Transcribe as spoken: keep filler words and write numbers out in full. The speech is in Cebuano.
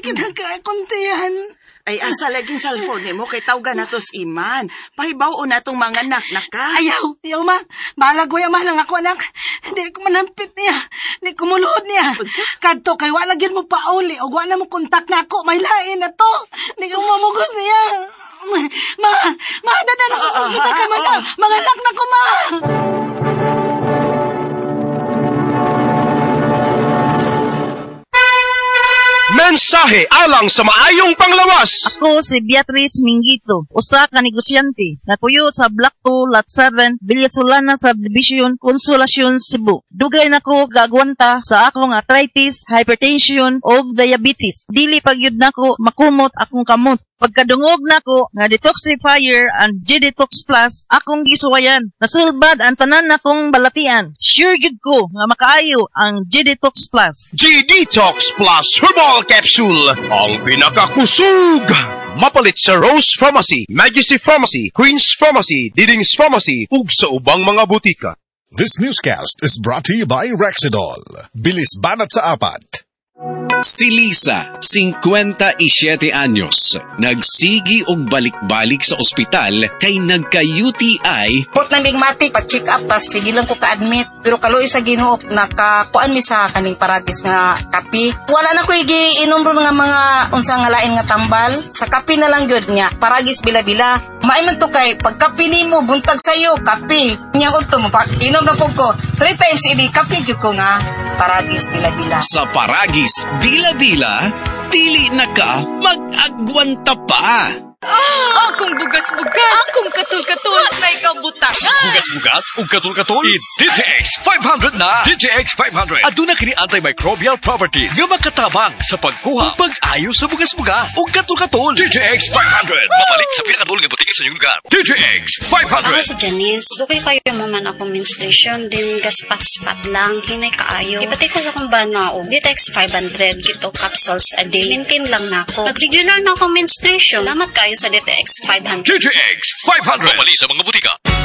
Kinakakuntihan. Ay, asa laging cellphone nimo kay tawgan nato si Iman. Pahibaw na tong mga anak na ka. Ayaw, ayaw ma. Balag ko ma lang ako anak. Di ko manampit niya. Di ko muluhod niya. Unsa? Kadto kay wa na gyud mo pauli og wa na mo kontak na ako. May lain na to. Di ko mamugos niya. Ma, ma, dada na ko sa Ah, ah, sa ah, mga, ah. mga anak na ko, ma. Mensahe alang sa maayong panglawas. Ako si Beatrice Mingito, usa ka negosyante, napuyo sa Block two, Lot seven, Villa Solana Subdivision, Consolacion, Cebu. Dugay nako gaagwanta sa akong arthritis, hypertension ug diabetes. Dili pagyud nako makumot akong kamot. Pagkadungog nako nga detoxifier and G-Detox Plus akong gisuwayan. Nasulbad ang tanan nakong balatian. Sure gyud ko nga makaayo ang G-Detox Plus. G-Detox Plus Herbal Capsule, ang pinakakusog! Mapalit sa Rose Pharmacy, Majesty Pharmacy, Queen's Pharmacy, Diding's Pharmacy, ug sa ubang mga butika. This newscast is brought to you by Rexidol. Bilis banat sa apat. Si Lisa, singkwenta y siyete anyos, nagsigi og balik-balik sa ospital kay nagka-U T I. Pot na migmati, pag-check up, tas sige lang ko ka-admit. Pero kaluoy sa Ginoo, nakakuan mi sa kaning paragis nga kape. Wala na ko giinom ron nga mga unsa nga lain nga tambal. Sa kape na lang gyud niya, paragis bila-bila. Maimon to kay pagkape nimo buntag sayo, kape. Nya udto mo, pag inom na pud ko, three times a day, kape jud ko nga paragis bila-bila. Sa paragis bila-bila, dili na ka mag-agwanta pa. Ah, akong bugas-bugas, akong katul-katul, na ikaw butang. Bugas-bugas ug katul-katul. I D T X five hundred na. D T X five hundred. Aduna kini antimicrobial properties nga makatabang sa pagkuha ug pag-ayo sa bugas-bugas ug katul-katul. D T X five hundred. Mapalit sa pinakadul nga butika sa inyong lugar. D T X five hundred. Ako si Janice. Dugay kayo mo man akong menstruation din gaspat-spat lang hinay kaayo. Ipatay ko sa akong bana og D T X five hundred kito capsules a day. Maintain lang nako. Nag-regular na akong menstruation. Salamat kayo sa D T X five hundred. D T X five hundred. Pabali sa mga butika.